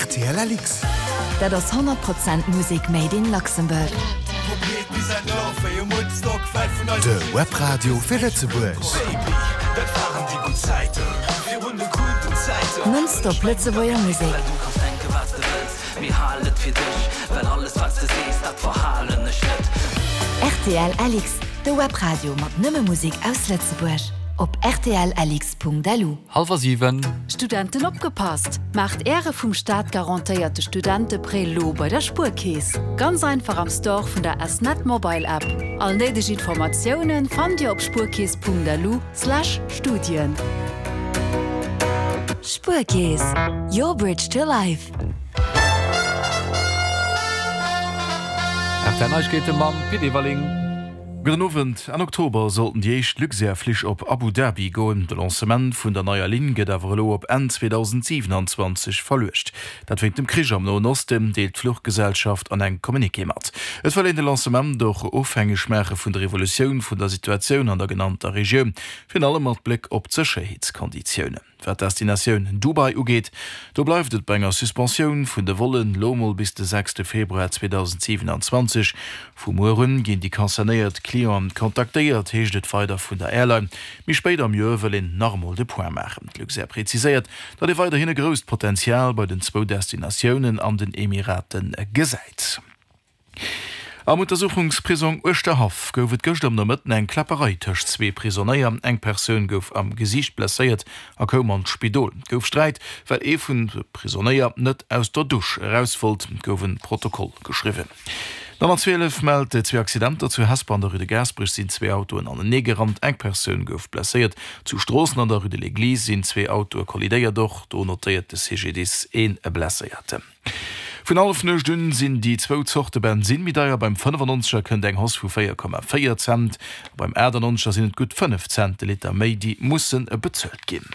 Rtl LX. Dat ass 100 Prozent Musek made in Luxembourg. De Webradio fir Lëtzebuerg. Non-stop Lëtzebuerger Musek. Rtl LX, de Webradio mat nëmme Musek aus Lëtzebuerg. Op rtllx.lu. Hallwer 7. Studenten opgepasst! Maacht Äre vum Staat garantéierte Studenteprêt lo bei der Spuerkeess. Ganz einfach am Store vun der S-Net Mobile App. All néideg Informatiounen fannt Dir op spuerkeess.lu slash Studien. Spuerkeess, your bridge to life. Rtl Neiegkeete mam Pit Everling. Gudden Owend. Enn Oktober sollten déi éischt Luxair-Flich op Abu Dhabi goen. De Lancement vun der neier Linn gëtt awer elo op Enn 2027 verluecht. Dat wéint dem Krich am Noen Osten, deelt d'Fluchgesellschaft an engem Communiqué mat. Et wëll een de Lancement och ofhängeg maache vun der Evolutioun vun der Situatioun an der genannter Regioun, virun allem mat Bléck op d'Sécherheetskonditiounen. Wat d'Destinatioun Dubai ugeet, do bleift et bei enger Suspensioun vun de Vollen, lo mol bis de sechste Februar 2027. Vu muer un ginn déi concernéiert Clienten kontaktéiert, heescht et weider vun der Airline. Méi spéit am Joer wëll een nach emol de Point maachen. D'Luxair präziséiert, datt ee weiderhin e grousst Potenzial bei den zwou Destinatiounen an den Emiraten gesäit. Am Untersuchungsprisong Uerschterhaff gouf et gëschter am Nomëtten eng Kläpperei tëscht zwee Prisonéier. Eng Persoun gouf am Gesiicht blesséiert a koum an d'Spidol. Et gouf Sträit, well ee vun de Prisonéier net aus der Dusch eraus wollt. Et gouf e Protokoll geschriwwen. D'Nummer 12 mellt zwee Accidenter. Zu Hesper an der Rue de Gaasperech sinn zwee Autoen anenee gerannt. Eng Persoun gouf blesséiert. Zu Stroossen an der Rue de l'Eglise sinn zwee Autoe kollidéiert. Och do notéiert de CGDIS ee Blesséierten. Vun Hallefnuecht un sinn déi zwou Zorte Bensinn méi deier. Beim 95er kënnt eng Hausse vu 4,4 Cent a beim 98er sinn et gutt 5 Cent de Liter méi, déi musse bezuelt ginn.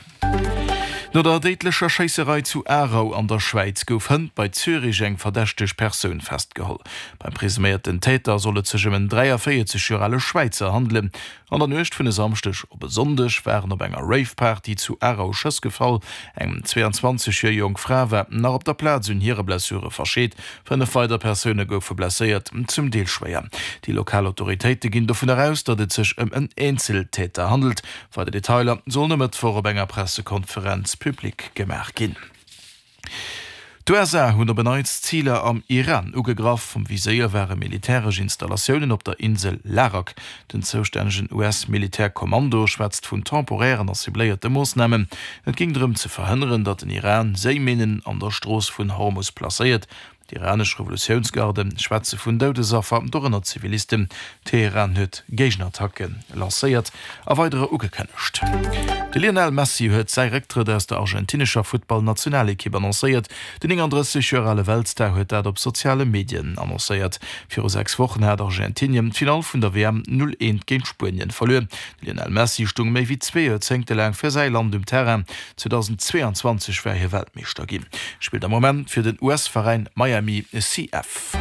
No der déidlecher Schéisserei zu Aarau an der Schwäiz gouf hënt bei Zürich eng verdächteg Persoun festgeholl. Beim presuméierten Täter soll et sech ëm en 43 Joer ale Schwäizer handelen. An der Nuecht vun e Samschdeg op e Sonndeg waren op enger Rave-Party zu Aarau Schëss gefall. Eng 22 Joer jonk Fra war nach op der Plaz un hire Blessure verscheet. 5 weider Persoune goufe blesséiert, zum Deel schwéier. Déi lokal Autoritéite ginn dovunner aus, datt et sech ëm en Eenzeltäter handelt. Weider Detailer sollen e Mëttwoch op enger Pressekonferenz public gemaach ginn. D'USA hunn op en Neits Ziler am Iran ugegraff. Am Viséier ware militäresch Installatiounen op der Insel Larak. Den zoustännegen US-Militärkommando schwätzt vun temporären a cibléierte Moossnamen. Et géing drëm ze verhënneren, datt den Iran Séiminnen an der Strooss vun Hormus placéiert. D'iranesch Revolutiounsgarde schwätze vun Doudesaffer, dorënner Zivilisten. Teheran huet Géigenattacke lancéiert a weiderer ugekënnegt. De Lionel Messi huet säi Récktrëtt aus der argentinescher Futtballnationalekipp annoncéiert. Den 39 Joer ale Weltstar huet dat op soziale Medien annoncéiert. Viru 6 Wochen hat Argentinien d'Finall vun der WM 0, 1 géint Spuenien verluer. De Lionel Messi stung méi wéi zwee Joerzéngte laang fir säi Land um Terrain. 2022 war hie Weltmeeschter ginn, spillt am Moment fir den US-Veräin Miami CF.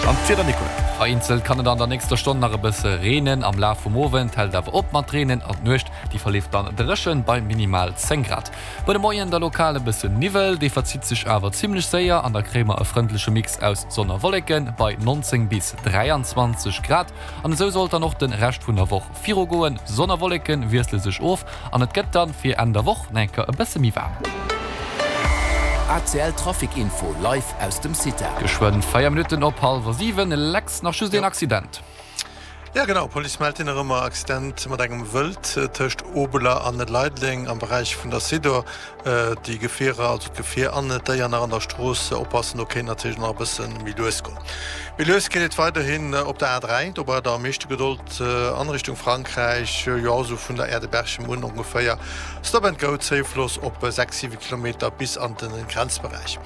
An d'Wieder, Nicolas? Vereenzelt kann et an der nächster Stonn nach e bësse reenen, am Laf vum Owend hält et awer op mat reenen an d'Nuecht, déi verleeft dann dréchen bei minimal 10 Grad. Bei de Moien da lokal e bësse Niwwel, dee verzitt sech awer zimmlech séier an da kréie mer e frëndleche Mix aus Sonn a Wolleke bei 19 bis 23 Grad. An esou sollt dann och de Rescht vun der Woch virugoen, Sonn a Wolleke wiessle sech of an et gëtt dann fir Enn der Woch nach eng Kéier e bësse méi waarm. ACL Trafic Info live aus dem CITA. Geschwënn 4 Minutten op hallwer 7, Lex, nach just een Accident. Jo genau, Police mellt een erëm e Accident mat engem Wëld tëscht Obeler an Leideleng am Beräich vun der Sidor. Déi Gefierer, also d'Gefier an d'Déier nach an der Strooss oppassen, do kéint natierlech nach e bësse méi lues goen. Méi lues geet et weiderhin op der A3, do braucht der am meeschte Gedold an Richtung Frankräich, jo esou vun der Aire de Berchem un ongeféier. Stop and go, Zéifloss op 6, 7 Kilometer bis an de Grenzberäich.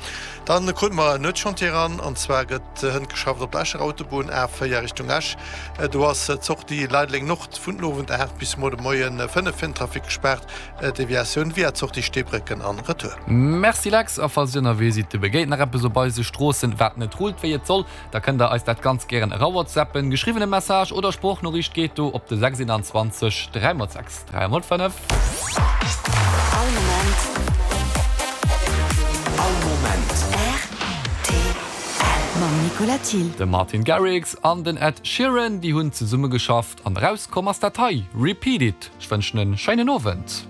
Dann krute mer en Nuetschantier eran, an zwar gëtt hënt geschafft op der Escher Autobunn, A4 Richtung Esch. Do ass d'Sortie Leideleng Nord vun den Owend 8 bis muer de Moien 5 fir den Trafic gespaart. Deviatioun via d'Sortie Steebrécken an Retour. Merci Lex, a falls dir ënnerwee sidd, dir begéint nach eppes op eise Stroossen wat net rullt wéi et soll, da kënnt der eis dat ganz gären erawhatsappen. Geschriwwene Message oder Sproochnoriicht geet do op de 621 3 x 6 3 x 5. All Moment. All Moment. Mam Nicolas Thill. De Martin Garrix an den Ed Sheeran, déi hunn zesummegeschafft an erauskomm ass dat hei, Repeat It. Ech wënschen en schéinen Owend.